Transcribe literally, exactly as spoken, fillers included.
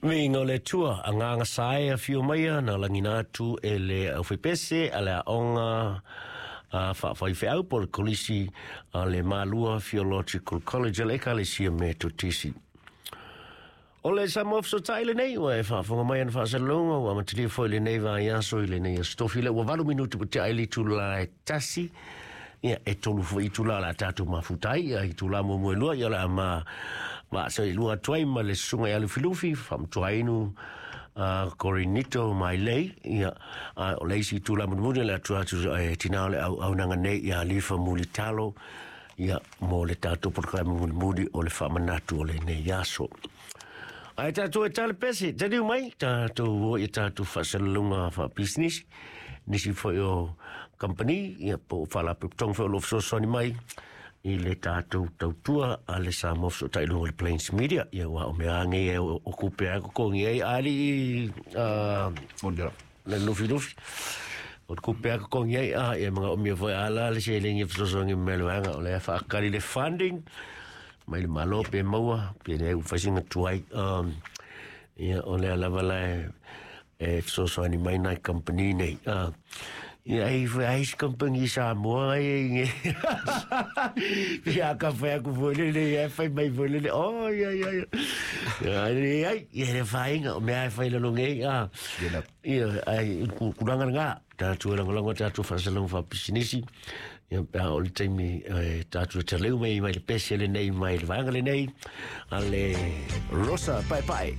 Viiga o le Atua, agaga sa e afio maia na lagina atu e le aufaipese a le aoga a faafaifeau po o le kolisi a le Malua Theological College a le Ekalesia Metotisi. O le Samoa Fesootai lenei ua e faafofoga mai ana faasalalauga ua amatalia foi lenei vaiaso i lenei aso tofi le ua valu minuti ua tea ai le itula e tasi. Ia, e tolu foi itula o le a tatou mafuta ai. Ia, itula muamua e lua, ia o le a ma vaasa i lua atu ai ma le susuga ia Lufilufi, faamatuainu uh, Corinito Mailei. Ia, a o le isi itula mulimuli o le atu atu e tina o le auaunaga nei ia Lifa Mulitalo, ia, mo le tatou polokalame mulimuli o le faamanatu o lenei aso. Ae tatou e tale pese, taliu mai, tatou o i tatou faasalalauga faapisinisi, nisi foi o company, ia po o faalapotopotoga foi o lo o fesoasoani mai i le tatou tautua a le Samoa Fesootai i luga o le Plains Media. Ia, aua o mea lava nei o kupe lava e totogi ai alii le Lufilufi. O le kupe lava e totogi ai, a ia manaomia foi ala le seleni e fesoasoani mai le vaega o lea e faatali le funding mai le Malo pe maua pe leai ua fai sina tuai. Um, ia o lea lava la e, e fesoasoani mai nai company nei. Uh, ia ai foi ai isi company i Samoa ai ai Ia ka fai aku foi lele ia fai mai foi lele. Oh ia ia ia. Ia ai ai ia le whainga o mea e fai lalo nei. Ah. Ia ai ku kuranga ngā tātou e lagolago tātou faasalalauga faapisinisi. Ia pe a o le taimi e tātou e taleu mai mai le pese lenei mai le vaega lenei a le Rosa Paepae.